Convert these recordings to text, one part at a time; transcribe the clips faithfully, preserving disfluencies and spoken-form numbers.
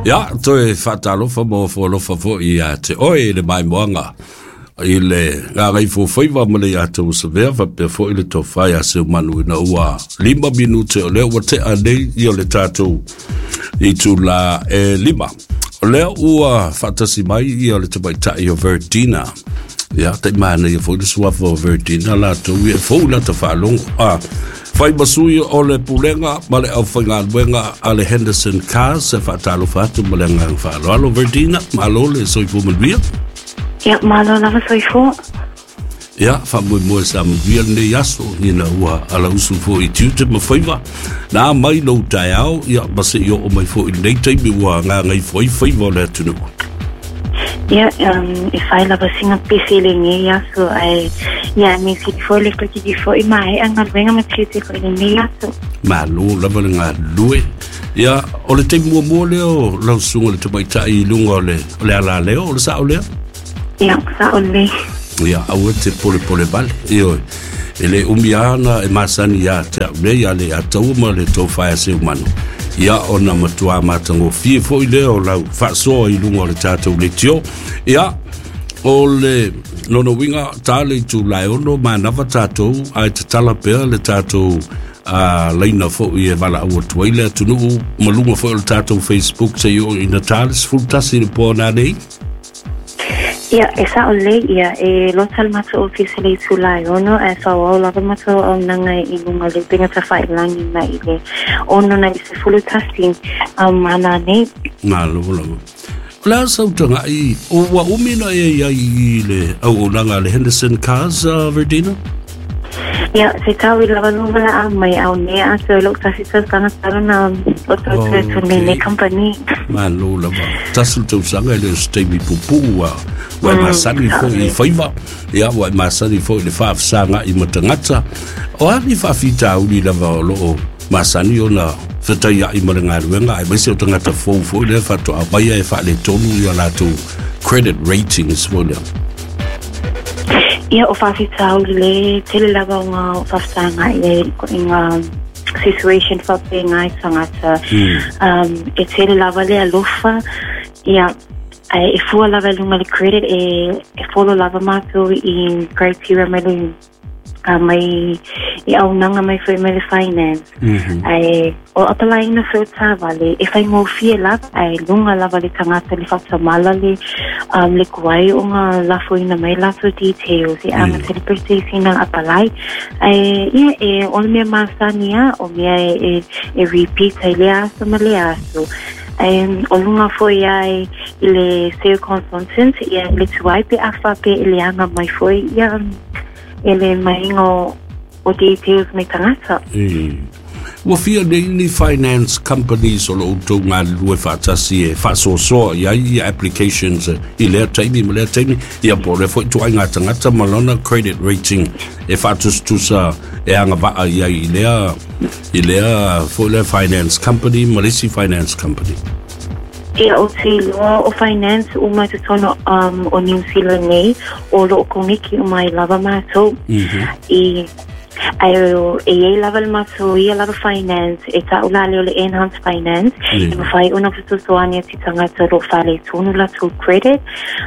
Ia, toe faatalofa ma ofoalofa foʻi ia te oe i le maimoaga i le gagaifofaiva ma le ia tausavea faapea foʻi le tofa ia Seumanu ina ua lima minute o lea ua teʻa nei ia le tatou itulā e lima. O lea ua faatasi mai ia le tamaitaʻi o Verdina. Ia, taʻimanaia foi le suafa o Verdina latou ia e fou lata faalogo a fai masui o le pulega ma le aufaigaluega a le Henderson Cars. E faatalofa atu ma le agaga faaaloalo. Verdina, malo le soifua manuia. Ia, malo lava soifua. Ia, faamoemoe sa manuia lenei aso ina ua alausu foʻi i tiute ma faiva na mai lou taeao, ia ma seʻi oo mai foʻi lenei taimi ua gagaifo ai faiva o le atunuu. Ia, um, e fai lava sina pisi i lenei aso, ae ia me sili foi le toetiti foi maeʻa galuega ma tiute foi i lenei aso. Malo lava le galulue. Ia, o le taimi muamua lea o lau susuga le tamaitaʻi i luga o le o le alaleo, o le saʻo lea? Ia, saʻo lelei. Ia, aua te polepole vale. Ioe, e lē umi ana e masani iā te a'u nei a le ataua ma le tofa ia Seumanu. Ia, ona matuā matagofie foʻi lea o lau faasoa i luga o le tatou leitio. Ia, o le lona uiga ta le itulā e ono manava tatou ae tatala pea le tatou a laina foʻi e valaau atu ai le atunuu ma luga foi o le tatou Facebook seia oo ina ta le sefulu tasi le po nanei. Ia, e saʻo lelei, ia, e lota le matou ofisa i le itulā e ono, ae faaauau lava matou auaunaga i luga o le upega tafailagi mai i le ono nai le sefulu tasi um, a nanei. Malo lava. O le a sau tagaʻi, ua umi na e iai i le auaunaga a le Henderson Cars, uh, Verdina? Ia, se tau i lava lou valaau mai au nei atoa i lou tasi tausaga talu na o tau toe atu nei nei company. Malo lava. Tasi le tausaga e le o se taimi puupuu ua ua e masani foi i faiva, ia ua e masani foi i le faafesagaʻi ma tagata. O a ni faafitauli lava o loo masani ona fetaiaʻi ma le galuega aemaise o tagata fou foi lea faatoa maia e faaletonu ia latou credit ratings foi lea? Ia, o faafitauli le tele lava o ngā faafesagaʻi ai i ngā situation faapena i tagata. Um, e tele lava le alofa, ia, ae e fua lava i luga le credit e, e follow lava mātou i criteria mai le uh, mai i auaunaga mai foi mai le finance. Mm -hmm. Ae o apalaiina foi o taavale e faigofie lava, ae luga lava le tagata le faatamala le um, le kuai o ngā lafoina mai latou details e amata le processing na apalai. Ae ia, e o le mea masani a o mea e, e, e repeat ai lea aso ma lea aso. Ae o luga foi ai i le circumstances, ia le tuai pe a faapea e leaga mai foi ia e le maiga o, o details mai tagata. E. Ua fia nei ni finance companies o lo outou galulue faatasi e faasoasoa i ai ia applications i lea taimi ma lea taimi, ia po o lea foi ituaiga tagata ma lona credit rating e faatusatusa e agavaa i ai i lea i lea foi lea finance company ma le isi finance company? Ia, ou te iloa o finance uma i totonu um, o New Zealand nei, o loo koneki uma ai lava matou. Mm -hmm. I ae e iai lava le matou ia lava finance e ta'u la lea o le Enhance Finance, mm. e mafai ona fesoasoani atu i tagata o loo faaletonu latou credit,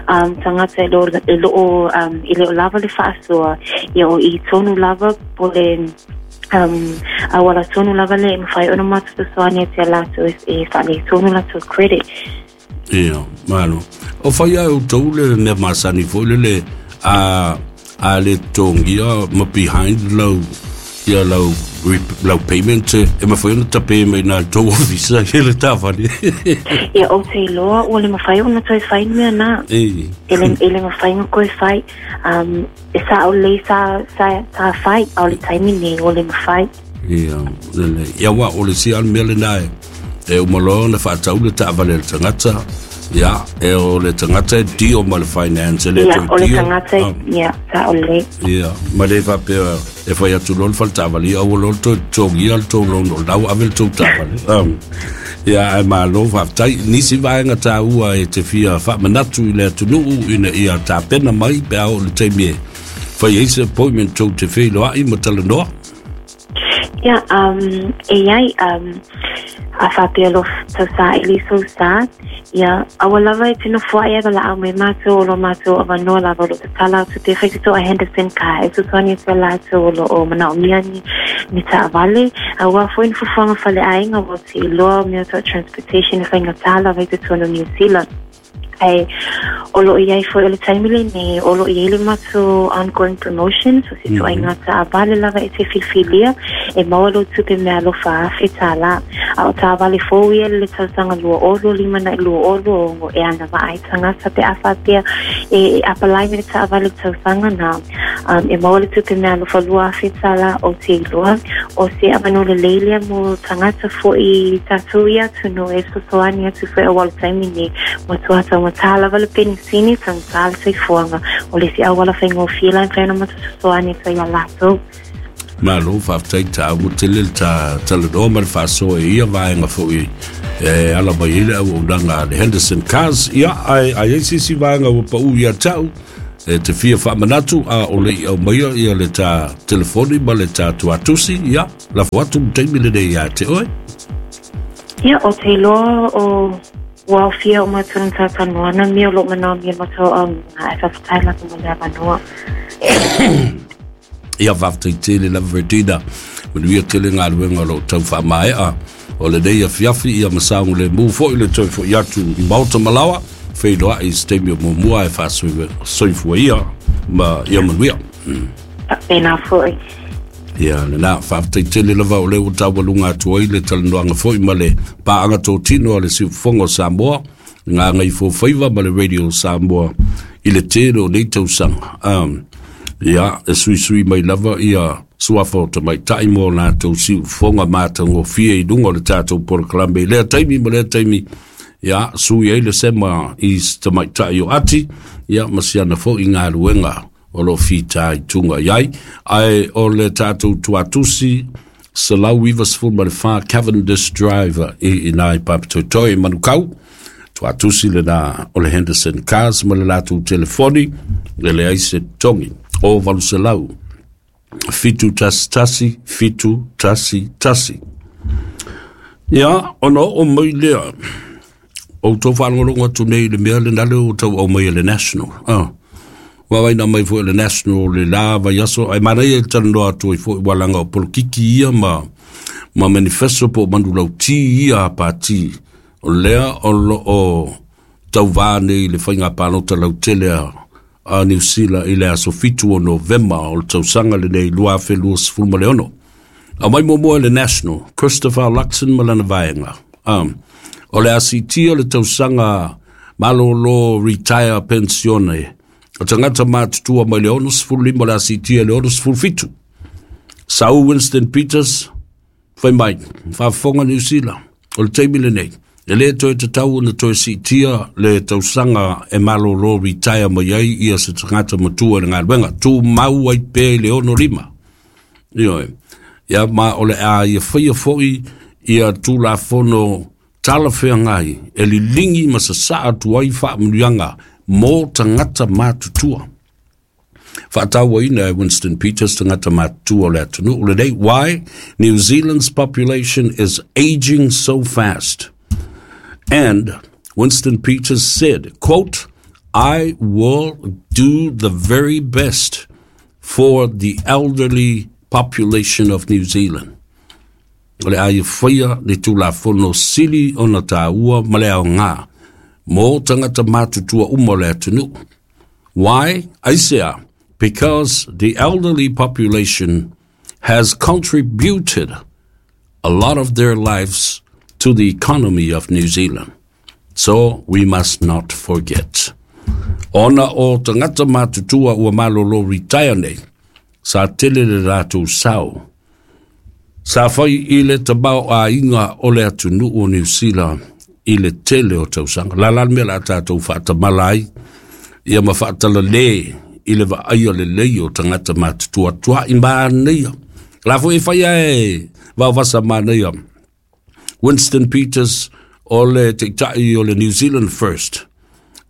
um, tagata e loo, e loo, um, e le o lava le faasoa, ia o i tonu lava po le um, auala tonu lava lea e mafai ona matou fesoasoani atu ia latou e faaletonu latou credit. Ia, malo. O fai a outou le mea masani foi le le a a le totogia ma behind lau ia lau lau payment e mafai ona tape mai na tou ofisa i le taavale? Ia, ou te iloa ua le mafai ona toe fai le mea na. E. E le, e le mafai ona toe fai. Um, e sao lelei sa, sa, sa fai, a o le taimi nei ua le mafai. Ia, lelei. Ia, ua o le isi lava le mea lena e, e uma loa ona faatau le taavale a le tagata, ia, e o le tagata e deal ma le finance, e le Ia, toe o le deal. tagata, Ah. ia, sao lelei. Ia, ma le faapea e fai atu loa le faletaavale, ia aua loa le toe totogia le tou loan o lena ua ave le tou taavale. Um, ia, ae malo faafetai. Nisi vaega taua e te fia faamanatu i le atunuu ina ia tapena mai pe a oo i le taimi e fai ai se appointment tou te feiloai ma talanoa? Ia, um, e iai, um, A whapea lo tausaili sou sa, ia aua lava e tino fuai e wala au mai mātou o lo mātou awanoa lava o lo tatala atu te whaitito a Henderson ka e tutuani atu a lātou o lo o manaomia ni, ni taavale. A ua foi ni fufuanga fale aiga ua te iloa mea tau transportation e faigata lava i totonu o New Zealand. Ai o lo i ai foi o le taimi lenei o lo i ai le matou ongoing promotion so se tuaiga taavale lava e te filifilia e maua lou tupe meaalofa afe tālā. A o taavale fou ia le tausaga lua olo lima na i lua olo ogo e ana vaai tagata pe a faapea e, e apalai me le taavale tausaga na um, e maua le tupe meaalofa lua afe tālā o te iloa o se avanoa lelei lea mo tagata fo'i tatou ia atunuu e fesoasoani atu foi auā le taimi nei matua taugata lava le penisini taugata le soifuaga o le isi auala faigofie la e mafai ona matou fesoasoani atu ai iā latou. Malo faafetai tāua tele le ta talanoa ma le faasoa e ia vaega fo'i e ala mai ai le auaunaga a le Henderson Cars. Ia ae ai ai se isi vaega ua paʻu ia te au e te fia faamanatu a o le i aumaia ia le ta telefoni ma le ta tuatusi ia lafo atu le taimi lenei iā te oe. Ia o te iloa o ua aofia o matou i le talatalanoaga mea o loo manaomia e matou auaunaga ae faafetai lava mo le avanoa. Ia faafetai tele lava Verdina, manuia tele galuega o loo tau faamaea o lenei afiafi ia ma saogalemu fo'i le toe fo'i atu i maota malaoa feiloa'i i se taimi o muamua e faasoifua ia ma ia manuia. Faapena fo'i. Ia lena faafetai tele lava o lea ua taualuga atu ai le talanoaga fo'i ma le paaga totino a le Siufofoga o Samoa Gagaifofaiva ma le Radio Samoa i le tele o nei tausaga. Um, ia e suisui mai lava ia suafa o tamaitai mo latou siufofoga matagofie i luga o le tatou polokalame i lea taimi ma lea taimi ia sui ai le sema i se tamaitai o ati ia ma siana fo'i galuega o loo fita i tuga i ai ae o le tatou tuatusi selau iva sefulu ma le fa Cavendish Drive i ina i Papatoetoe i Manukau. Tuatusi lena o le Henderson Cars ma le latou telefoni e leai se togi o valu selau fitu tasi tasi fitu tasi tasi. Ia ona oo mai lea o outou faalogologo atu nei i le mea lena lea ua tau aumaia le National. Ah. Vaavaina mai foi le National le la vaiaso ae manaia i le talanoa atu ai foi ua laga o polokiki ia ma ma manifesto po o manulauti ia a pati o lea o loo tauvā nei i le faiga palota lautele a a Niu Sila i le aso fitu o Novema o le tausaga lenei lua afe lua sefulu ma le ono. Aumai muamua e le National, Christopher Luxon ma lana vaega. Um, o le a siitia le tausaga malōlō retire pensione o tagata matutua mai le ono sefulu lima o le a siitia i le ono sefulu fitu. Sau Winston Peters, fai mai, faafofoga Niu Sila, o le taimi lenei, e lē toe tatau ona toe siitia le tausaga e malōlō retire mai ai ia se tagata matua i le galuega, tumau ai pea i le ono lima. Ioe, ia ma o le a ia faia fo'i ia Tulafono talafeagai e liligi ma sasaa atu ai faamanuiaga mo tagata matutua. Faatauaina e Winston Peters tagata matutua o le atunuu lenei. Why? New Zealand's population is aging so fast. And Winston Peters said, quote, I will do the very best for the elderly population of New Zealand. O le a ia faia le Tulafono sili ona tāua ma le aogā mo tagata matutua uma o le atunuu. Why? Aisea, because the elderly population has contributed a lot of their lives to the economy of New Zealand. So we must not forget. Ona o tagata matutua ua malolo retire nei, sa tele le latou sao. Sa fai i le tamaoaiga o le atunuu o Niu Sila i le tele o tausaga. La la le mea o le a tatou faatamala ai ia ma faatalale i le vaaia lelei o tagata matutua tua'i manaia. La foi e fai ae vaovasa manaia. Winston Peters o le taitai o le New Zealand First.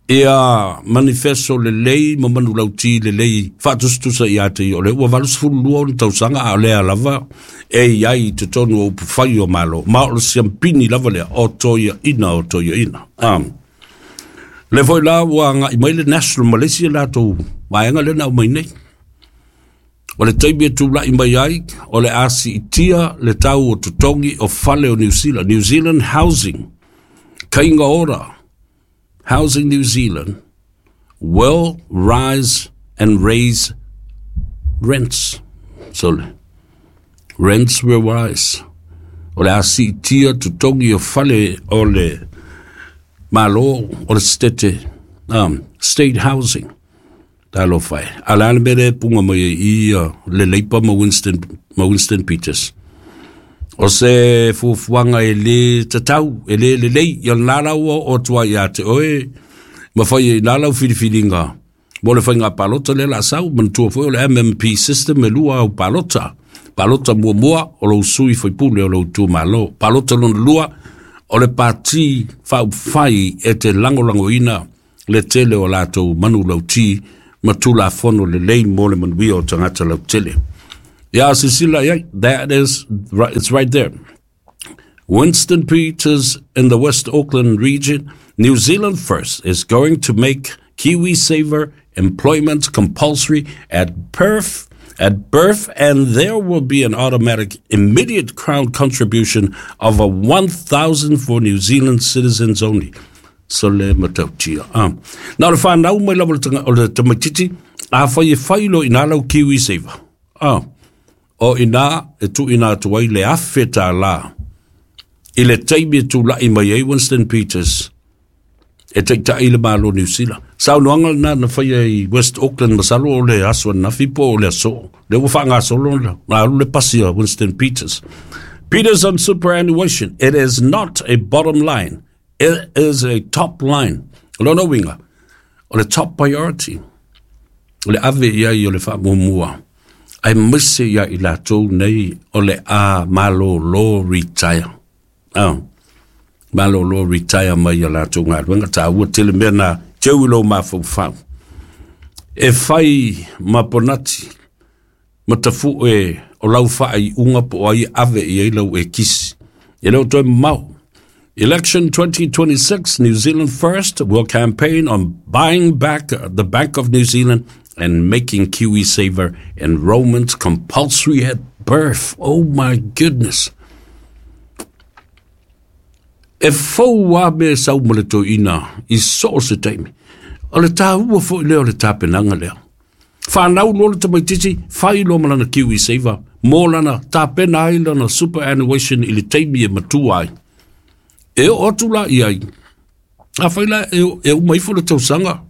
Ia manifesto lelei ma manulauti lelei faatusatusa ia te ia o le ua valusefulu lua ona tausaga a o lea lava e iai i totonu o upufai o Malo ma o le siampini lava lea o toiaina o toiaina. Um, le foi la ua agai mai le National Malaysia latou vaega lea na aumai nei. O le taimi e tula'i mai ai o le a siitia le tau o totogi o fale o New Zealand, New Zealand Housing, Kainga Ora, Housing New Zealand will rise and raise rents. So, rents will rise. O le a siitia totogi o fale o le Malo o le state, um, state housing. Talofa e. A le a le mea lea e puga mai ai i uh, le Leipa ma Winston, ma Winston Peters. O se fuafuaga e lē tatau, e lē lelei, ia lena la ua oo atu ai iā te oe, ma fai ai i ina lau filifiliga mo le faiga palota lea o le a sau. Manatua foi o le M M P system e lua au palota. Palota muamua o lou sui faipule o lou itumalo. Palota lona lua o le pati faaupufai e te lagolagoina le tele o latou manulauti ma tulafono lelei mo le manuia o tagata lautele. Ia silasila i ai, that is, it's right there. Winston Peters in the West Auckland region, New Zealand First is going to make KiwiSaver employment compulsory at birth, at birth, and there will be an automatic immediate crown contribution of a one thousand for New Zealand citizens only. So le matautia. Ah. Na o le whanau mai lava o le tamaititi, a whai e whai lo ina lau KiwiSaver. Ah. O ina e tu ina atu ai le afe tā la. I le taimi e tula'i mai ai Winston Peters e taitai le Malo New Zealand. Saunoaga lena na faia i West Auckland masalo o le aso ananafi po o le aso. Lea ua faagasolo na alu le pasi a Winston Peters. Peters on superannuation. It is not a bottom line. It is a top line. O lona uiga, o le top priority, o le ave i ai o le faamuamua, aemaise ia i latou nei o le a malōlō retire. Ah, malōlō retire mai ia latou galuega, taua tele mea na teu i lou mafaufau. E fai ma ponati, ma tafu'e o lau faaiuga po o ai e ave i ai lau ekisi. E le o toe mamao. Election twenty twenty-six, New Zealand First will campaign on buying back the Bank of New Zealand and making KiwiSaver enrollment compulsory at birth. Oh my goodness. E fou lava mea e sau ma le toeaina i so o se taimi. O le taua foi lea o le tapenaga lea. Whanau loa le tamaitiiti, fai loa ma lana KiwiSaver, mo lana tapena ai lana superannuation i le taimi e matua ai. E oo atu la i ai, afai la e, e uma ifo le tausaga,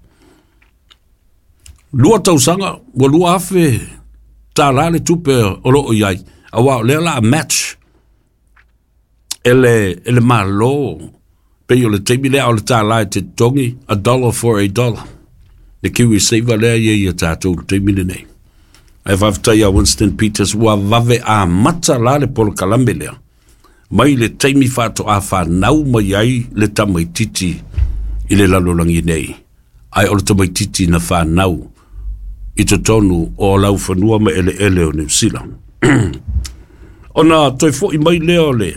lua tausaga, ua lua afe tālā le tupe o loo i ai, auā o lea o le a match e le, e le Malo, pei o le taimi lea o le tālā e te totogi, a dollar for a dollar. Le KiwiSaver lea e i ai ia tātou i le taimi lenei. Ae faafetai ia Winston Peters ua vave amata la le polokalame lea. Mai le taimi faatoa fanau mai ai le tamaitiiti i le lalolagi nei, ae o le tamaitiiti na fanau i totonu o laufanua ma eleele o Niu Sila. Ona toe fo'i mai lea o le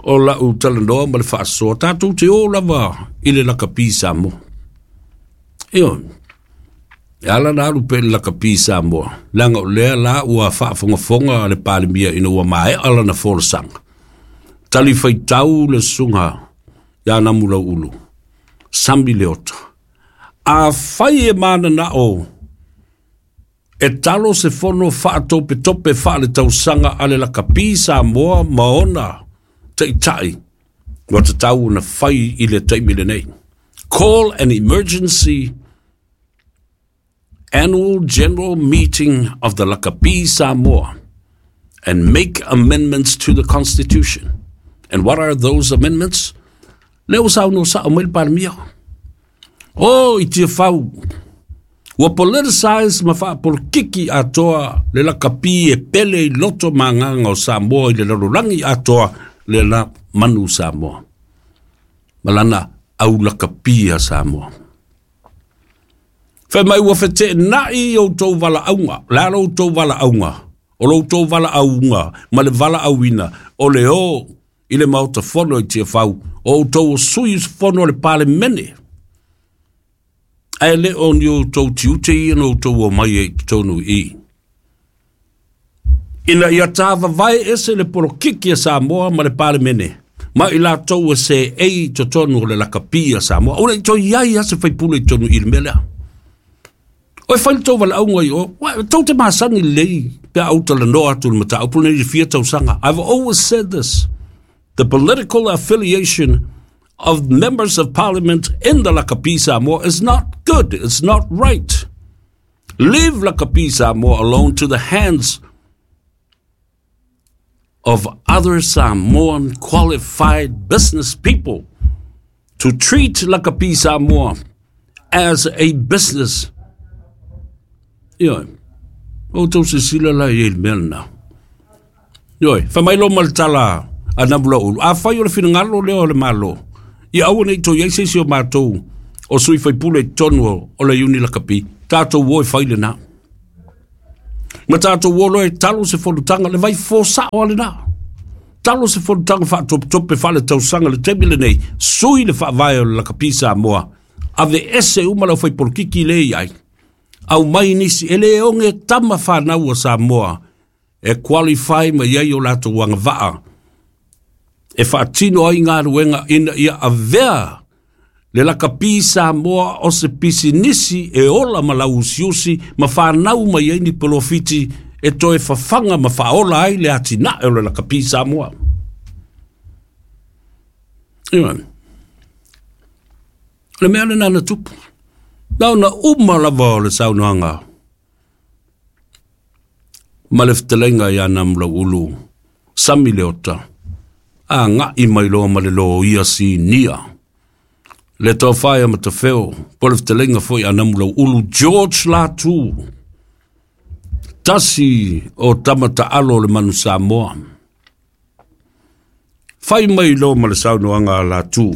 o la'u talanoa ma le faasoa, tatou te ō lava i le lakapi Samoa. Ioe. E ala na alu pea i le lakapi Samoa, leaga o lea la ua faafogafoga le Palemia ina ua maea lana folasaga. Tali faitau le susuga ia Namulauulu, Sami Leota. Afai e mananao e talo se fono faatopetope faaletausaga a le lakapi Samoa ma ona taitai, ua tatau ona fai i le taimi lenei. Call an emergency annual general meeting of the Lakapi Samoa and make amendments to the constitution. And what are those amendments? Lea ua saunoa sao mai le Palemia. Oh, i Tiafau, ua politicize ma faapolokiki atoa le lakapi e pele i loto ma agaga o Samoa i le lalolagi atoa le la manu Samoa. Ma lana au lakapi a Samoa. Fai mai ua fetenai o tou valaauga, le a lo outou valaauga, o lo outou valaauga ma le valaauina o le o i le Maota Fono i Tiafau, o outou o sui usufono o le Palemene. Ae le o ni outou tiute ia na outou omai ai i totonu i i. Ina ia tāvavae ese le polokiki a Samoa ma le Palemene, ma i latou e seei i totonu o le lakapi a Samoa. Ua le i toe i ai lava se faipule i totonu i i le mea lea. O e fai le tou valaauga i o, tou te masani lelei pe a ou talanoa atu i le mataupu lenei i le fia tausaga. I've always said this, the political affiliation of members of parliament in the Lakapi Samoa is not good, it's not right. Leave Lakapi Samoa alone to the hands of other Samoan qualified business people to treat Lakapi Samoa as a business. Ioe, o outou silasila la i ai i le mea lena. Ioe, fai mai loa ma le tala a Namulauulu, afai o le finagalo lea o le Malo, ia aua ne i toe i ai se isi o matou o sui faipule i totonu o le Iuni Lakapi, tatou o e fai lena. Ma tatou o loa e talo se fonotaga, le vai fosao lava lena. Talo se fonotaga faatopetope faaletausaga i le taimi lenei, sui le faavae o le Lakapi Samoa, aveese uma le aufaipolokiki lea e i ai, aumai nisi e le oge tama fanau a Samoa e qualify mai ai o latou agavaa e faatino ai galuega ina ia avea le lakapi Samoa o se pisinisi e ola ma lauusiusi ma fanau mai ai ni polofiti e toe fafaga ma faaola ai le atinae o le lakapi Samoa. Ioe. O le mea lena na tupu. Na ona uma lava o le saunoaga ma le fetalaiga ia Namulauulu Sami Leota, agai mai loa ma le loia sinia le tofa ia Matafeo, po o le fetalaiga foi a Namulauulu George Latu, tasi o tama taalo o le manu Samoa. Fai mai loa ma le saunoaga a Latu,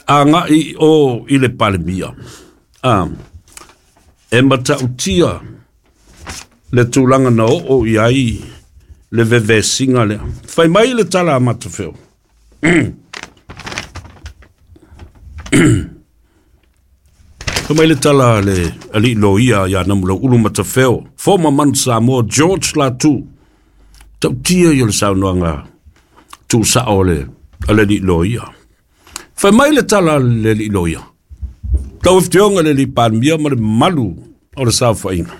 agai o i le Palemia. A, e matautia le tulaga na oo i ai le vevesiga lea. Fai mai le tala a Matafeo. Fai mai le tala a le alii loia ia Namulauulu Matafeo, former Manu Samoa George Latu, tautia i o le saunoaga tuusao le a le alii loia. Fai mai le tala a le alii loia, tau afioga le alii Palemia ma le mamalu o le saofaiga,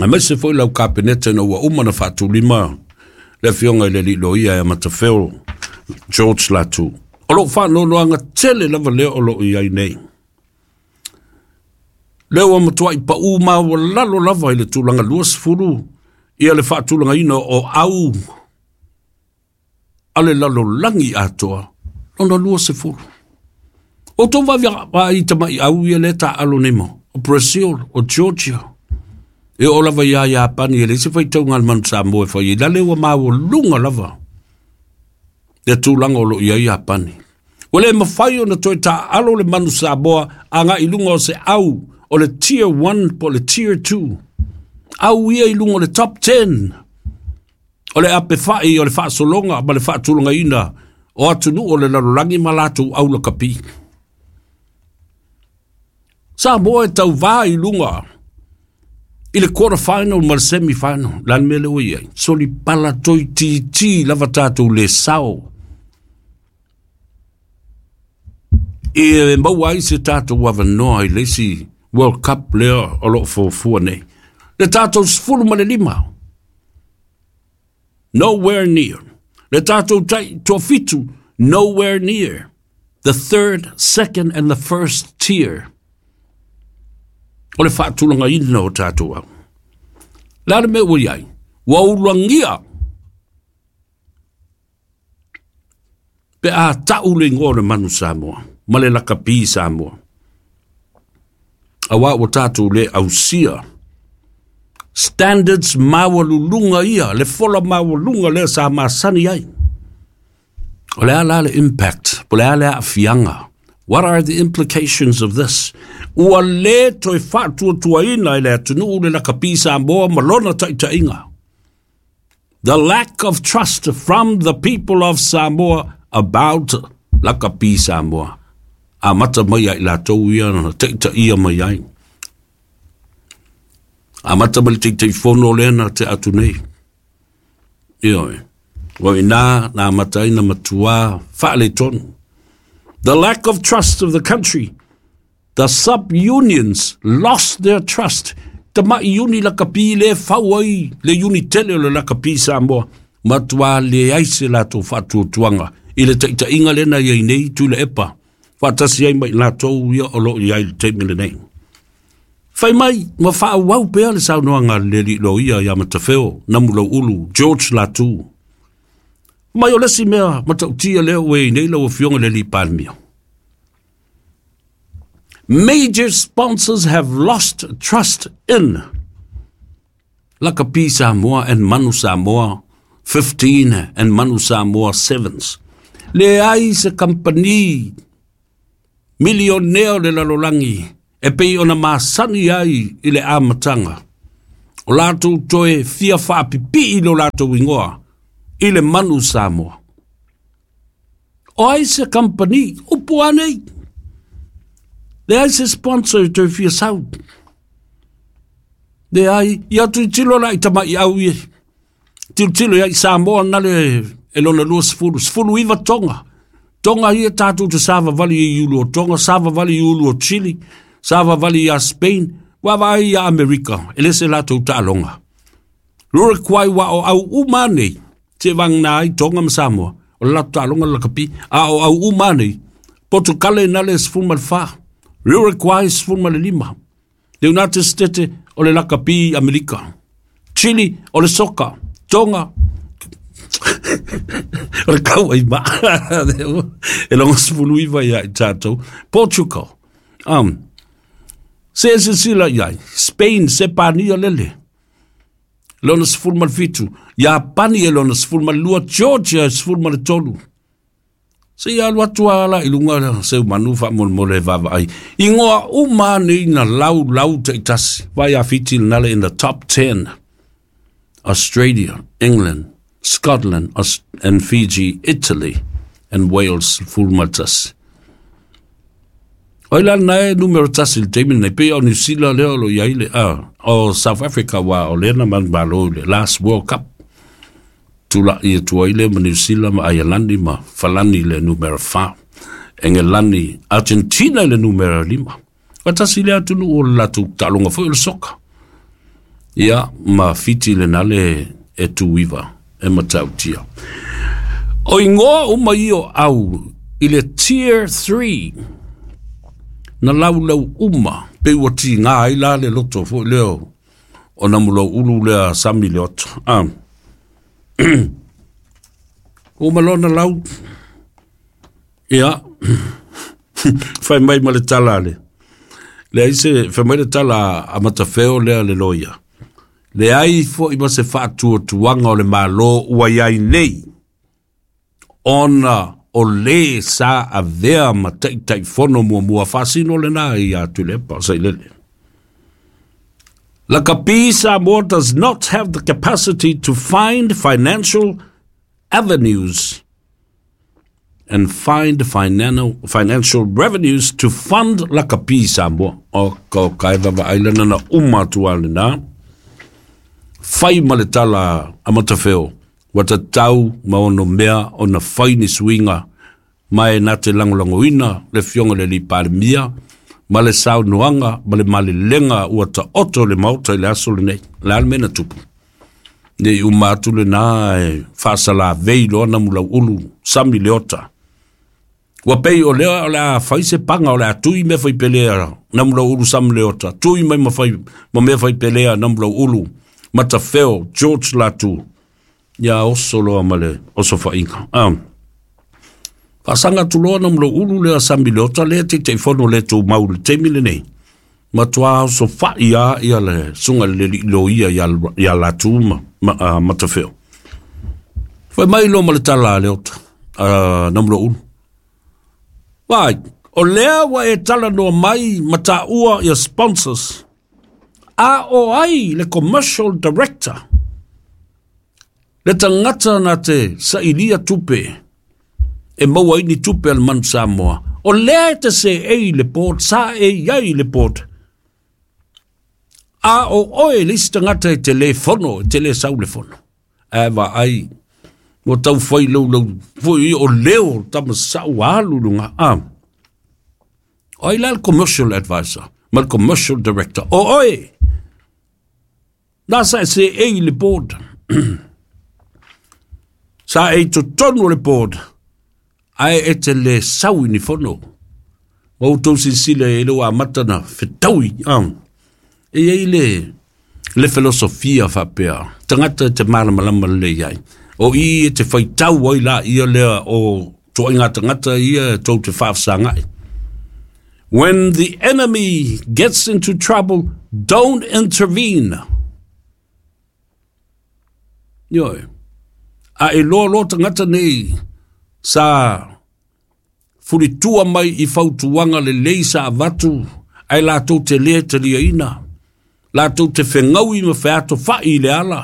aemaise foi lau Kapeneta ina ua uma na faatulima le afioga i le alii loia ia Matafeo George Latu. O lou faanoanoaga tele lava lea o loo i ai nei. Lea ua matuai pau maualalo lava i le tulaga luasefulu ia le faatulagaina o au a le lalolagi atoa lona luasefulu. O outou vaai tamai au ia lea taaalo nei mo, o Brazil, o Georgia, e oo lava ia Iapani e leai se faitauga a le manu Samoa e fai ai, la lea ua maualuga lava le tulaga o loo i ai Iapani. Ua le mafai ona toe taaalo le manu Samoa agai i luga o se au o le Tier one po o le Tier two. Au ia i luga o le Top ten o le apefai o le faasologa ma le faatulagaina o atunuu o le lalolagi ma latou au lakapi. Samoa e tauvā i luga i le quarter final ma le semi final. Le a le mea lea ua i ai? Solipala toitiiti lava tatou le sao e maua ai se tatou avanoa i le isi World Cup lea o loo fuafua nei. Le tatou sefulu ma le lima, nowhere near. Le tatou tai toafitu, nowhere near. The third, second and the first tier o le faatulagaina o tatou au. Le a le mea ua i ai? Ua ulagia pe a tau le igoa o le manu Samoa ma le lakapi Samoa. Auā ua tatou le ausia standards maualuluga ia, le fola maualuga lea sa masani ai. O le a la le impact, po le a le aafiaga. What are the implications of this? Ua lē toe faatuatuaina e le atunuu le lakapi Samoa ma lona taʻitaʻiga. The lack of trust from the people of Samoa about Lakapi Samoa. Amata mai ai latou ia na taʻitaʻia mai ai. Amata mai le Taitaifono lea na te atu nei. Ioe. Ua inā na amata ai na matuā faaletonu. The lack of trust of the country. The sub-unions lost their trust. Tamaʻi iuni lakapi le fau ai le iuni tele o le lakapi Samoa. Matuā leai se latou faatuatuaga i le taʻitaʻiga lena iai nei Tuilaepa. Faatasi ai ma i latou ia o loo iai le taimi lenei. Fai mai ma faaauau pea le saunoaga a le alii loia ia Matafeo Namulauulu George Latu. Mai o lesi mea matautia lea ua i nei lau afioga le alii Palemia. Major sponsors have lost trust in Lakapi Samoa and Manu Samoa fifteen and Manu Samoa Sevens. Leai se kampani milionea o le lalolagi e pei ona masani ai i le amataga. O latou toe fia faapipii lo latou igoa i le Manu Samoa. O ai se kampani upu anei. Leai se sponsor e toe fia sau. Leai, ia tilotilo la i tamaʻi au ie. Tilotilo ia i Samoa na le e lona lua sefulu. Sefulu iva Tonga. Tonga ia tatou te savavali i ulu o Tonga, savavali i ulu o Chile, savavali ia Spain, vaavaai ia Amerika, e le se latou taaloga. Uruguay wa o au uma nei, te vagana ai Tonga ma Samoa, o le latou taaloga le lakapi, a o au uma nei, Portugal na le sefulu ma le fa, Uruguay sefulu ma le lima, le United States o le lakapi Amerika, Chile o le soka, Tonga, o le kau ai ma, e logo sefulu iva ia i tatou, Portugal, um, se e silasila i ai, Spain, Sepania lele, lona sefulu ma le fitu, Iapani e lona sefulu ma le lua, Georgia e sefulu ma le tolu. Se ia alu atu ala i luga seu manu faamolemole e vaavaai. Igoa uma nei na lau lau taʻitasi. Vai a Fiti nale in the top ten. Australia, England, Scotland and Fiji, Italy and Wales sefulu ma le tasi. O ila nae numero tasi le taimi nei pei o New Zealand lea o lo iai le ah, o South Africa wa o lena manumalo i le last World Cup. Tulaʻi atu ai le ma New Zealand ma Aialani ma Falani le numero fa. Engelani, Argentina le numero lima. O tasi le atunuu o le latou taaloga foi o le soka. Ia ma Fiti le nale e tuiva e matautia. O igoa uma ia au i le tier three na laulau uma pe ua tigā ai la le loto foi lea o Namulauulu lea Sami Leota. Ah. Uma lona lau. Ia. Fai mai ma le tala le. Leai se fai mai le tala a Matafeo lea le loia. Leai foʻi ma se faatuatuaga o le Mālō ua iai nei. Ona o lē sa avea ma taʻitaʻifono muamua faasino lenā ia Tuilaepa Sailele. Lakapi Samoa does not have the capacity to find financial avenues and find financial revenues to fund Lakapi Samoa. O ka kai vava ailana na uma atu alena. Fai ma le tala a Matafeo. Ua tatau ma ono mea ona fai ni suiga ma e na te lagolagoina le afioga le alii Palemia ma le saunoaga ma le malelega ua taoto le maota i le aso lenei. Le a le mea na tupu. Nei uma atu lenā e faasalavei loa Namulauulu Sami Leota. Ua pei o lea o le a fai se paga o le a tui mea fai pelea Namulauulu Sami Leota. Tui mai ma, fai, ma mea fai pelea Namulauulu Matafeo George Latu. Ia oso loa ma le oso faaiga. Ah. Faasaga atu loa Namulauulu lea Sami Leota lea Taitaifono le tumau le taimi lenei. Matuā oso faʻi a ia le suga le alii loia ia Latu ma, ma, uh, Matafeo. Fai mai loa ma le tala a Leota. a Namulaulu. Vai, o lea wa e tala noa mai mataua ia sponsors. A o ai le commercial director. Le tangata na te sailia tupe. E maua ini tupe al Manu Samoa. O lea e te se ei le board, sa e iai le board. A o oe le isi tangata e te le fono, e te le sau le fono. E va ai, mo tau whai lau lau, foi o leo tama sau alu lunga. Ah. O ai la le commercial advisor, ma le commercial director. O oe, nā sa e se ei le board. Sa e totonu le board. Ae e te le sau ni fono. Wa utou silasila e le ua amata na fetaui. Ah. E iai le, le filosofia faapea. Tagata e te malamalama lelei ai. O i e te faitau ai la ia lea o toaiga tagata ia e tou te faafesagai. When the enemy gets into trouble, don't intervene. Ioe. A e loa loa tagata nei sa fulitua mai i fautuaga lelei sa avatu ae latou te lē taliaina, latou te fegaui ma featofa'i i le ala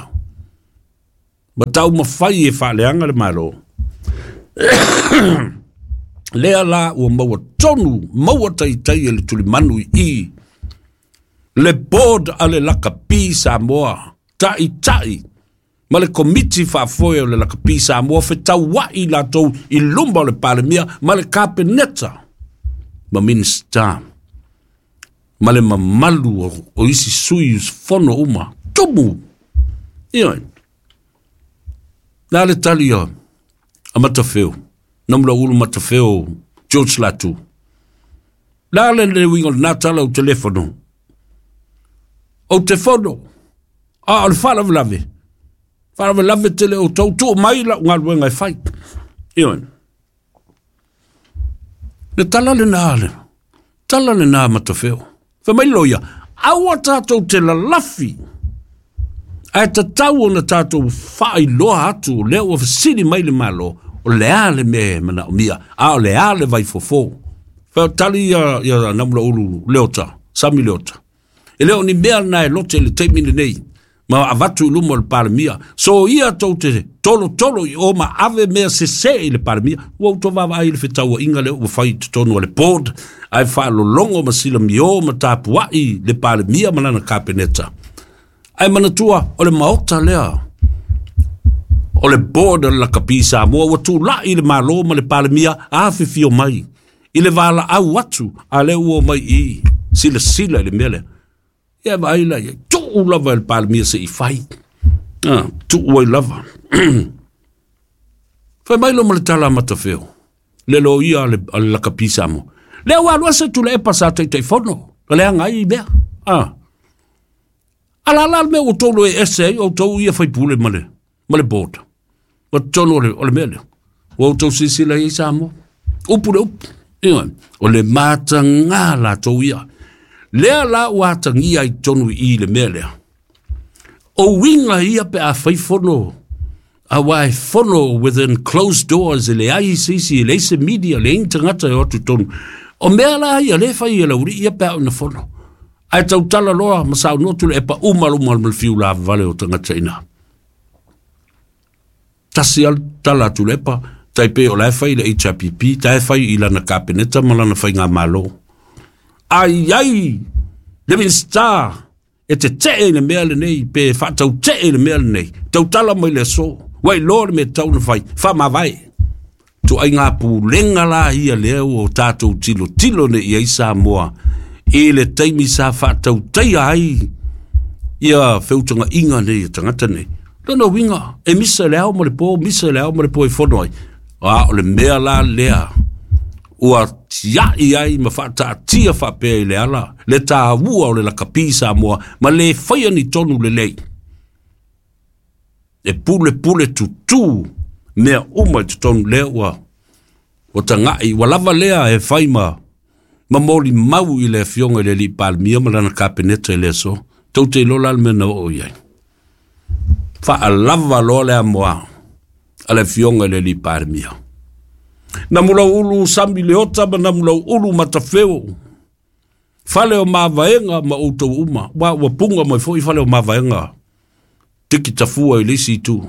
ma taumafai e faaleaga le Malo. Lea la ua maua tonu maua taitai e le tulimanu i le board a le Lakapi Samoa ta'ita'i ma le komiti faafoe o le Lakapi Samoa fetaua'i latou i luma o le Palemia ma le Kapeneta ma Minista ma le mamalu o, o isi sui usufono uma tumu. Ioe. Na le tali a, a Matafeo, Namulaulu Matafeo, George Latu. La le le uiga o lena tala o telefono. O te fono, a o le faalavelave. Faalavelave tele o tau tuu mai lau galuega e fai. Ioe. Le tala lena le, tala lena Matafeo. Fai mai loia, aua tatou te lalafi. Ae tatau ona tatou faailoa atu lea ua fesili mai le Malo, o le a le mea e manaomia, a o le a le vaifofo. Fai o tali ia, ia Namulaulu Leota, Sami Leota. E le o ni mea na e lote i le taimi lenei, ma avatu i luma o le Palemia. So ia tou te tolo tolo i o ma ave mea sesē i le Palemia, ua outou vaavaai i le fetauaiga lea ua fai i totonu o le board, ae faalologo ma silamiō ma tapua'i le Palemia ma lana Kapeneta. Ae manatua o le maota lea o le board o le Lakapi Samoa ua tula'i le Malo ma le Palemia afifio mai i le valaau atu a lea ua omai i silasila i le mea lea. Ia vaai la ia, tuu lava e le Palemia se'i fai. Ah, tuu ai lava. Fai mai lo ma le tala a Matafeo, le loia a le, a le Lakapi Samoa. Lea ua alu ese Tuilaepa sa taitaifono, o leaga ai i mea. Ah. Ala la le mea ua outou e ese ai, outou ia faipule ma le, ma le board. Ma totonu o le, o le mea lea. Ua outou silasila i ai Samoa. Upu le upu. Ioe. O le matagā latou ia. Lea la ua atagia ai totonu i le mea lea. O uiga ia pe a fai fono, auā e fono within closed doors, e leai se isi, e leai se media, leai ni tagata e o atu i totonu. O mea la ia lea e fai e le aualii ia pe a oo ina fono. Ae tautala loa ma saunoa Tuilaepa uma luma ma le fiu lavavale o tagata i ina. Tasi lava le tala a Tuilaepa, tai pei o la e fai i le H R P P, ta e fai i lana Kapeneta ma lana faigamalo. Ai ai le Minista e tetee i le mea lenei, pe faataute'e i le mea lenei, tautala mai le aso, ua iloa le mea tatau ona fai, faamavae. Tuaiga pulega la ia lea ua tatou tilotilo nei i ai Samoa i le taimi sa faatautaia ai ia feutagaiga nei a tagata nei. Lona uiga, e misa i le ao ma le po, misa i le ao ma le po e fono ai. A o le mea la lea ua tia'i ai ma faataatia faapea i le ala, le tāua o le Lakapi Samoa ma le faia ni tonu lelei. E pule pule tutū mea uma i totonu lea ua, ua taga'i, ua lava lea e fai ma, ma molimau i le afioga i le alii Palemia ma lana Kapeneta i le aso. Tou te iloa la le mea na oo i ai. Faalava loa le amoa a le afioga i le alii Palemia. Namulauulu sami leota ma Namulauulu matafeo. Fale o mavaenga ma outou uma. Wa ua punga mai fo'i fale o mavaenga. Tiki tafua i le isi itu.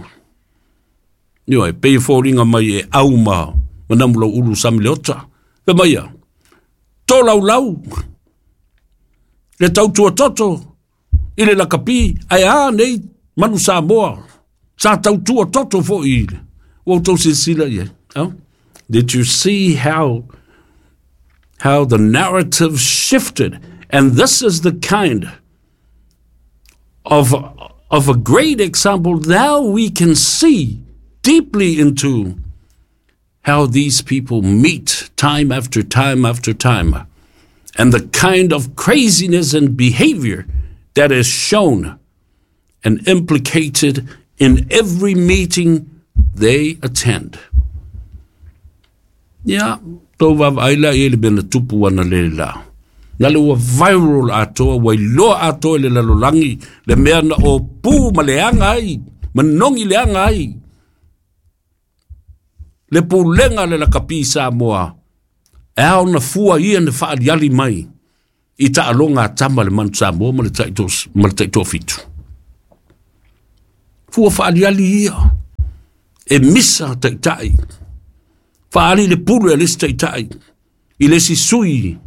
Ioe, pei e foliga mai e au ma ma Namulauulu sami leota. Fe mai ia, tolaulau le tautua toto i le lakapi, ae a nei manu Samoa sa tautua toto fo'i i le ua outou silasila i ai. Oh? Did you see how how the narrative shifted? And this is the kind of, of a great example. Now we can see deeply into how these people meet time after time after time, and the kind of craziness and behavior that is shown and implicated in every meeting they attend. Ia, tou vaavaai la i ai le mea na tupu ana le la. Na le ua viral atoa, ua iloa atoa i le lalolagi, le mea na opū ma leaga ai, manogi leaga ai, le pulega a le lakapi Samoa, e ao ona fua ia na faaliali mai i taaloga a tama le manu Samoa ma le taito, ma le taitoafitu. Fua faaliali ia, e misa taitai, faali le pule a le isi taitai, i le isi sui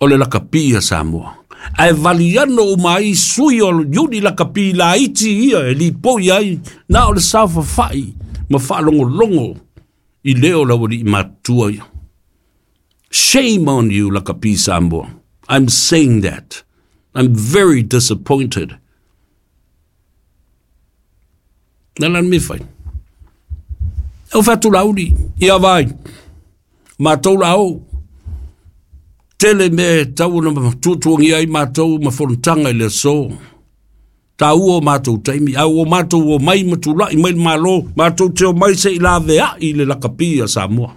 o le lakapi a Samoa. Ae valiano uma ai sui o iuni lakapi laiti ia e lipoi ai, na o le saofafai ma faalogologo i leo o le aualii matutua ia. Shame on you, Lakapi Samoa. I'm saying that. I'm very disappointed. Na lan me fai. E o fatu lauli, ia vai. Mātou la o. Tele me tau na tuatuangia ai mātou ma fonotaga i le aso. Tāua o mātou taimi, au o mātou o mai ma tula'i mai le Malo, mātou te o mai se i lavea'i le lakapi a Samoa.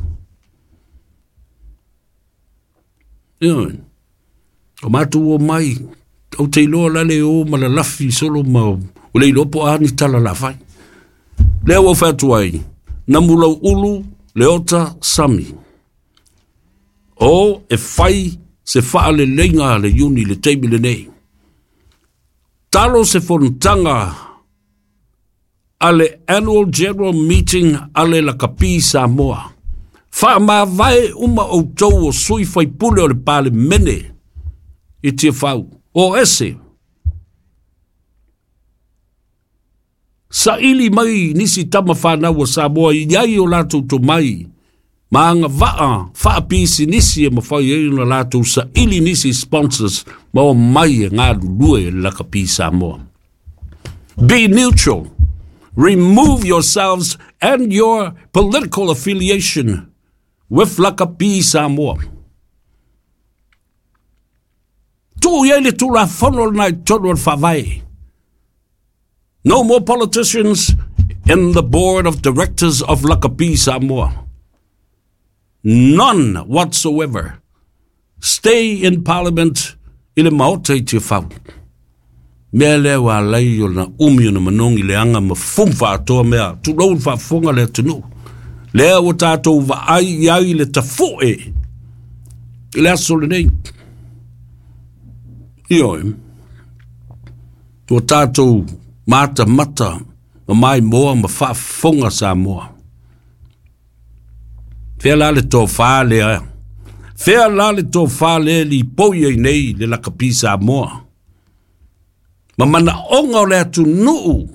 Ioe. O mātou o mai, ou te iloa la le o ma lalafi solo ma o le iloa po a ni tala la fai. Lea ua fai atu ai, Namulauulu leota sami. O e fai se faaleleiga a le iuni i le taimi lenei. Talo se fonotaga a le Annual General Meeting a le Lakapi Samoa. Faamavae uma outou o sui faipule o le Palemene i Tiafau. O ese, saili mai nisi tama whanau o Samoa i ai o latou tomai ma agavaa faapisinisi e mafai ai ona latou saili nisi sponsors ma o mai e galulue e le Lakapi Samoa. Be neutral. Remove yourselves and your political affiliation with Lakapi Samoa. Tuu i ai le Tulafono lena i totonu o le Faavae. No more politicians in the board of directors of Lakapi Samoa. None whatsoever. Stay in parliament i le Maota i Tiafau. Mea lea ua alai ona umi ona manogi leaga ma fumu faatoa mea, tulou le faafofoga le atunuu. Lea ua tatou vaai i ai le tafoe i le aso lenei. Ioe, ua tatou matamata ma maimoa ma faafofoga Samoa. Fea la le tofā lea, fea la le tofā lea lipoi ai nei le Lakapi Samoa ma manaoga o le atunuu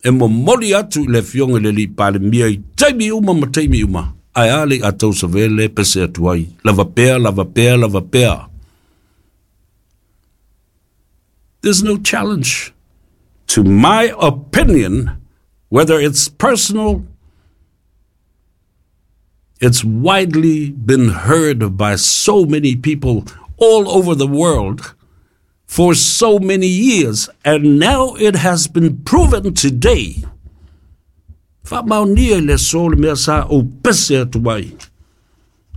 e momoli atu i le afioga i le alii Palemia i taimi uma ma taimi uma, ae a le i a tou savea le pese atu ai, lava pea, lava pea, lava pea. There's no challenge to my opinion, whether it's personal, it's widely been heard by so many people all over the world for so many years, and now it has been proven today. Faamaonia i le aso le mea sa ou pese atu ai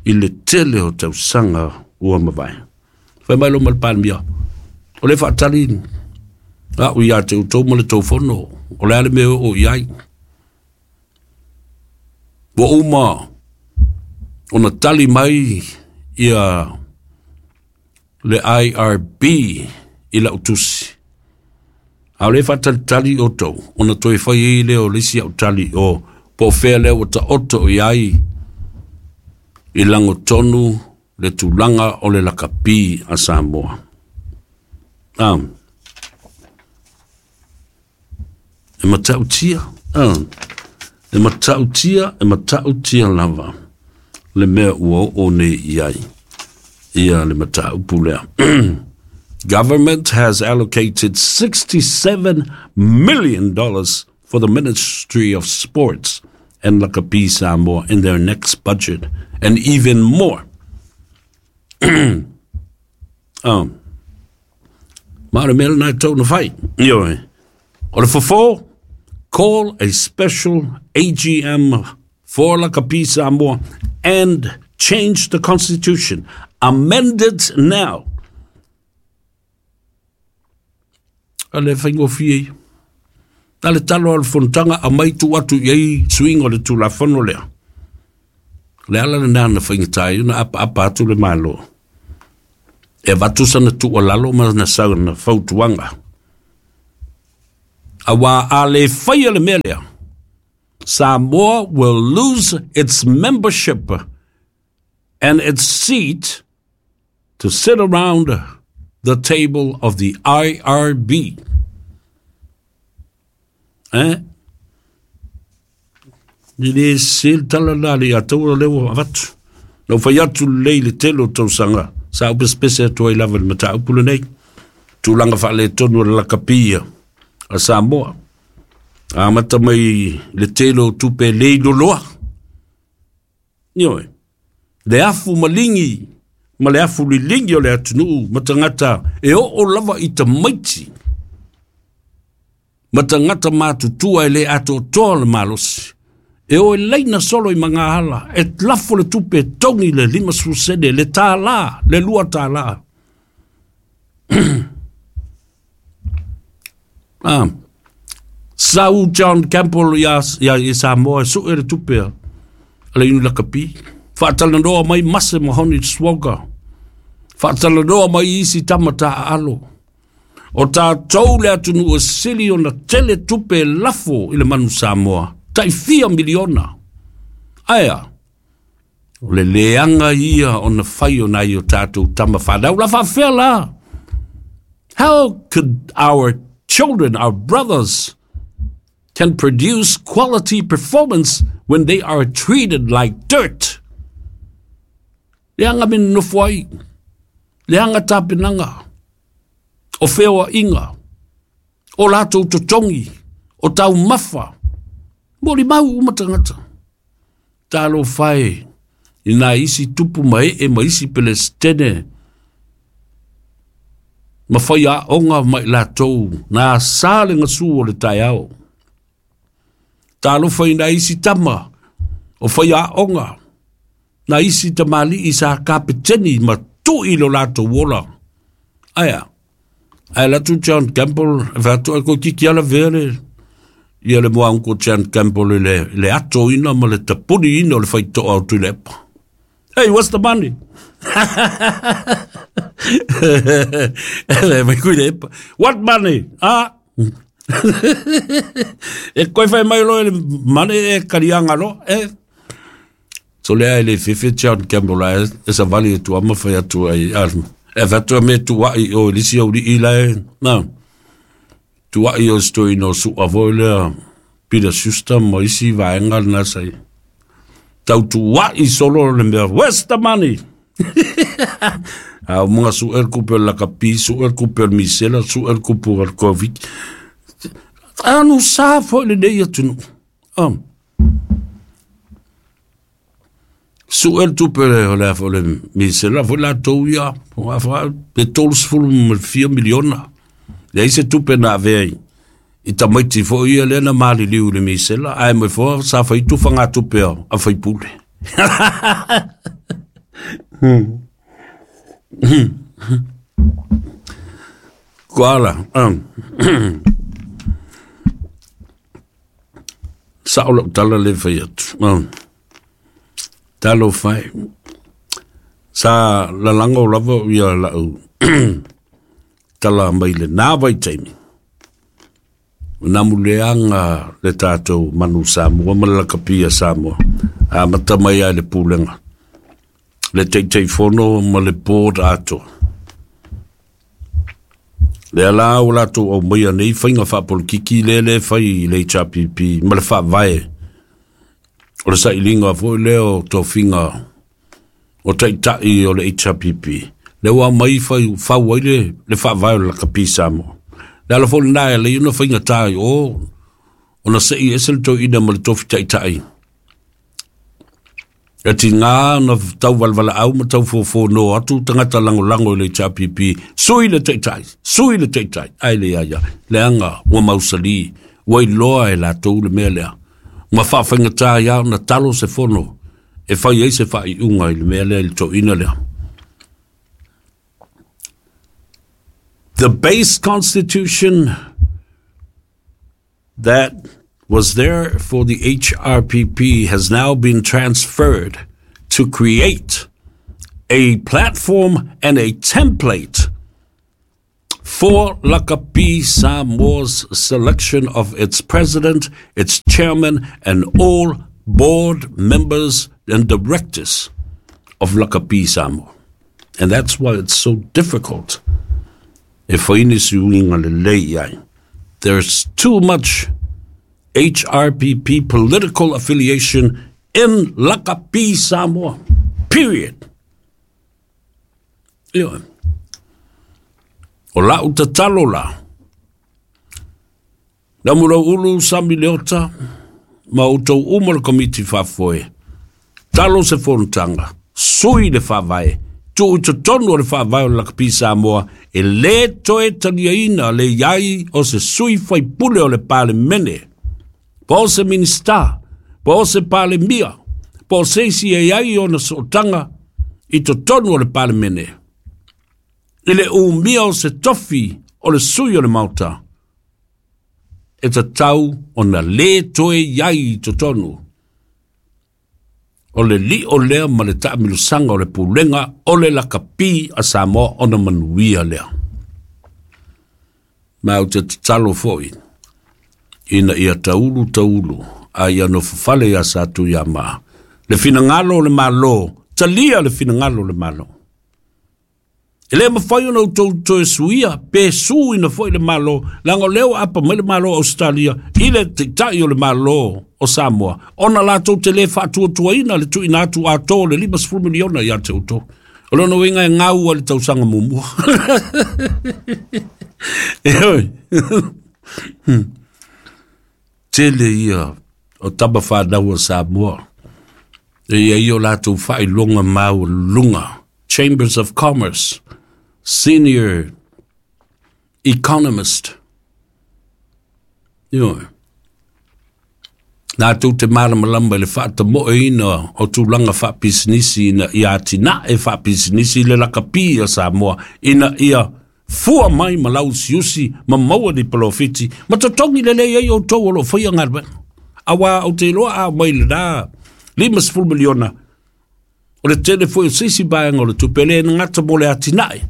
i le tele o tausaga ua mavae. Fai mai lo ma le Palemia, o le faatali a'u ia te outou ma le tou fono, o le a le mea o i ai. Ua uma ona tali mai ia le I R B i lau tusi. A o le faatalitali outou ona toe fai ai lea o le isi au tali o po o fea lea ua taoto i ai i lagotonu le tulaga o le lakapi a Samoa. Ah. E matautia, ah. E matautia, e matautia lava le mea ua oo nei i ai ia le mataupu lea. Government has allocated sixty-seven million dollars for the Ministry of Sports and Lakapi Samoa in their next budget, and even more. um, ma le mea lena e tau na fai. Ioe. O le fofo, call a special A G M for Lakapi Samoa and change the constitution. Amend it now. A le whaingofie i. A le talo al fontanga a mai tu atu i ei swing o le tulafono lea. Le ala le nana whaingatai na apa apa atu le malo. E vatu sana tu o lalo ma na sau na fautuanga. A wā a le whaia le mea lea. Samoa will lose its membership and its seat to sit around the table of the I R B. Eh? I le se le tala la le atou o leo avatu. Lau fai atu lei le tele o tausaga. Sa upe spese atu ai lava le mataupu lenei. Tulaga faaletonu o le lakapia a Samoa. Amata mai le tele o tupe lei loloa. Ioe. Le afu malingi ma le afu lilingi o le atunuu ma tagata e oo lava i tamaiti. Ma tagata matutua e le atoatoa le malosi. E o e leina solo i mangahala, e lafo le tupe tongi le lima susene, le tālā, le lua tālā. Ah. Sau John Campbell ia, ia i Samoa, su e le tupe a le inu lakapi. Whaatalanoa mai mase mahoni swaga. Whaatalanoa mai isi tamata a alo. O tātou le atunu o sili o na tele tupe lafo i le manu Samoa. Tai fia miliona. Aia, o le leanga ia o na whai o nai o tātou tama whanau la whawhea la. How could our children, our brothers, can produce quality performance when they are treated like dirt? Leanga min nofuai. Leanga tapinanga. O wheoa inga. O lātou totongi. O tau mafa. Mori mau umatangata. Talo whai. I nā isi tupu mai e ma isi pelestene. Ma whai a onga mai lātou. Nā sāle ngasu o le tai ao. Talo whai nā isi tama. O whai a onga. Nā isi tamali i sa kapeteni ma tui lo lātou wola. Aia. Aia latu John Campbell. E whātua ko kiki ala vere. Ia le mua unko John Campbell le, le ato ina ma le tapuni ina o le whaitoa o tuilepa. Hey, what's the money? Le mai kui lepa. What money? Ah. E koe whai mai lo e le mane e karianga lo. E. So lea e le fefe John Campbell e, e sa vali e tuama whai atu ai. E whatua me tuai o lisi au li ila e. Na. Tuai o stoi no sua voi lea. Peter Schuster mo isi vaenga na sai. Tau tuai solo le mea. Where's the money? A munga su el kupe la kapi, su el kupe el misela, su el kupe el covid. Anu sa foi le nei atunu. Um. Su el tupe le le le misela foi la touia, a fa pe tols fulu me fia miliona. Le ise tupe na vei. I tamaiti foi ia le na mali liu le misela, ai me fo sa fai tu fanga tupe a fai pule. Hmm. Koala. Um. Sa o lau tala le whai atu. Um. Talo fai. Sa lalango lava ia lau tala mai le nā vaitaimi. Namuleanga le tātou manu Samoa ma le lakapi a Samoa. A mata mai ai le pulega. Le Taitaifono ma le board atoa. Le ala o latou au mai nei whainga whaapolitiki le le whai le H R P P ma le whaavae. O le sailinga foi leo tofinga o taitai o le H R P P. Le ua mai whai whau ai le, le whaavae o le lakapi Samoa. Le ala foi nā e le una whainga tāi o o na sei ese le tau ina ma le tofi taitai. E ti ngā na tau walwala au ma tau fōfō no atu tangata lango lango i le H R P P. Sui le taitai, sui le taitai. Ai le ia ia, le anga ua mausali, ua iloa e lātou le mea lea. Ma whaawhainga tā ia na talo se fono, e whai ei se whai unga i le mea lea i le tauina lea. The base constitution that was there for the H R P P has now been transferred to create a platform and a template for Lakapi Samoa's selection of its president, its chairman, and all board members and directors of Lakapi Samoa. And that's why it's so difficult. There's too much H R P P political affiliation in Lakapi Samoa. Period. Ioe. O lau tatalo la. Na mura ulu sami leota, ma utou uma le komiti whaafoe. Talo se fontanga, sui le whaavae, tu i totonu o le whaavae o Lakapi Samoa, e le toe taliaina le iai o se sui whaipule o le palemene. Po se minista, po se palemia, po se isi e ai o na sootanga i totonu o le palemene. I le umia o se tofi o le sui o le mauta, e tatau o na le toe iai i totonu. O le li o lea ma le taamilusanga o le pulenga o le lakapi a Samoa o na manuia lea. Ma o te tatalo foi, ina ia taulu taulu, a ia no fafale ia sa tu ia maa. Le finangalo le malo, talia le finangalo le malo. E le mawhai ona utou toe suia, pe su ina foi le malo, langa leo apa mai le malo Australia, i le taitai o le malo o Samoa. Ona lātou te le whaatuatuaina le tuina atu atoa le lima sefulu miliona ia te utou. O lona uiga e ngau a le tausaga mumua. E oi. Tele ia o tama whanau o Samoa. E ia ia o lātou whailonga mau lunga. Chambers of Commerce, senior economist. Ioe. Nā tū te mālamalama i le whaatamoe ina o tūlanga whaapisinisi ina ia atina e whaapisinisi le lakapi a Samoa ina ia fua mai ma lausiusi ma maua ni palofiti ma totongi le lei ai o tau o lo whaia ngalwe. Awa o te loa a mai le nā lima sefulu miliona o le tele foi o sisi baenga o le tupele na ngata mo le atinae.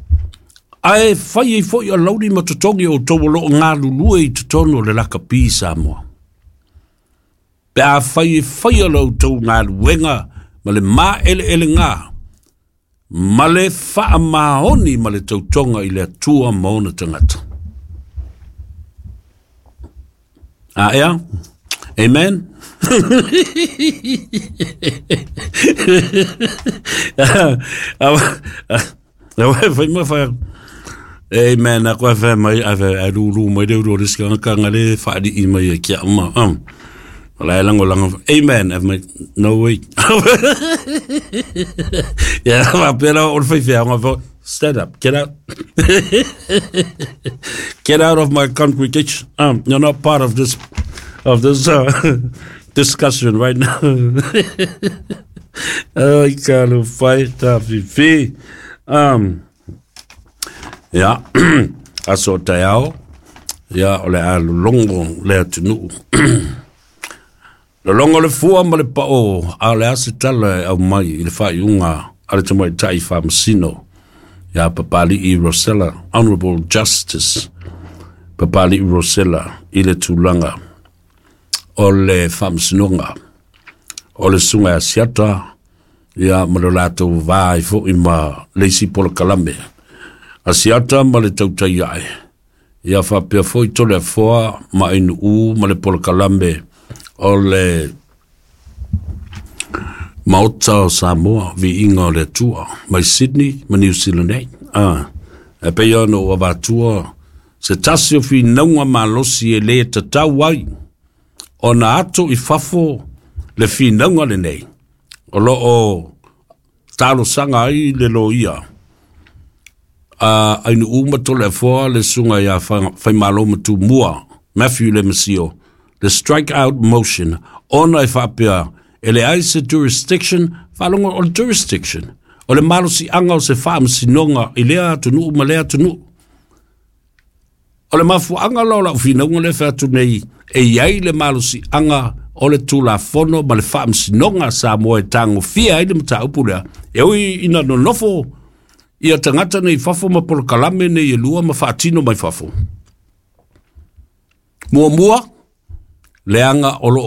Ae whai e foi a lauri ma totongi o tau o lo ngā lulue i totonu o le lakapi Samoa. Pe a whai e whai a lau tau ngā luenga ma le maa ele ele ngā ma le wha maoni ma le tautonga i le atua maona tangata. A ea? Amen? Amen. A koe whae mai, a whae rūrū mai reu rō riska ngā ngā le whaari i mai e kia uma. Wala e lango lango. Amen. Mai, no way. Yeah, wapera o le whai whai. Stand up. Get out. Get out of my congregation. Um, you're not part of this of this uh, discussion right now. Ai ka lo whai ta fifi. Um, yeah. Aso te ao. Ia o le a lulongo le atunuu. Lologo le fua ma le pao a le a se tala e aumai i le faaiuga a le tamaitai faamasino ia Papali'i Rosella, Honorable Justice Papali'i Rosella, i le tulaga o le faamasinoga o le susuga ia Asiata ia ma le latou va ai foi ma le isi polokalame Asiata ma le tautai ae ia faapea foi Toleafoa ma Ainuu ma le polokalame o le Maota o Samoa, viiga o le Atua, mai Sydney ma New Zealand nei. Ah, e pei ona ou avatua se tasi o finauga malosi e lē tatau ai ona ato i fafo le finauga lenei o loo talosaga ai le loia a Ainuu ma Toleafoa le susuga ia Faimalo Matumua Matthew Lemisio, le strike out motion, ona e faapea e leai se jurisdiction. Faalogo o le jurisdiction o le malosiaga o se faamasinoga i lea atunuu ma lea atunuu. O le mafuaaga la o lau finauga lea fai atu nei e iai le malosiaga o le Tulafono ma le faamasinoga Samoa e tagofia ai le mataupu lea, e ui ina nonofo ia tagata nei fafo ma polokalame nei e lua ma faatino mai fafo. Muamua, leaga o loo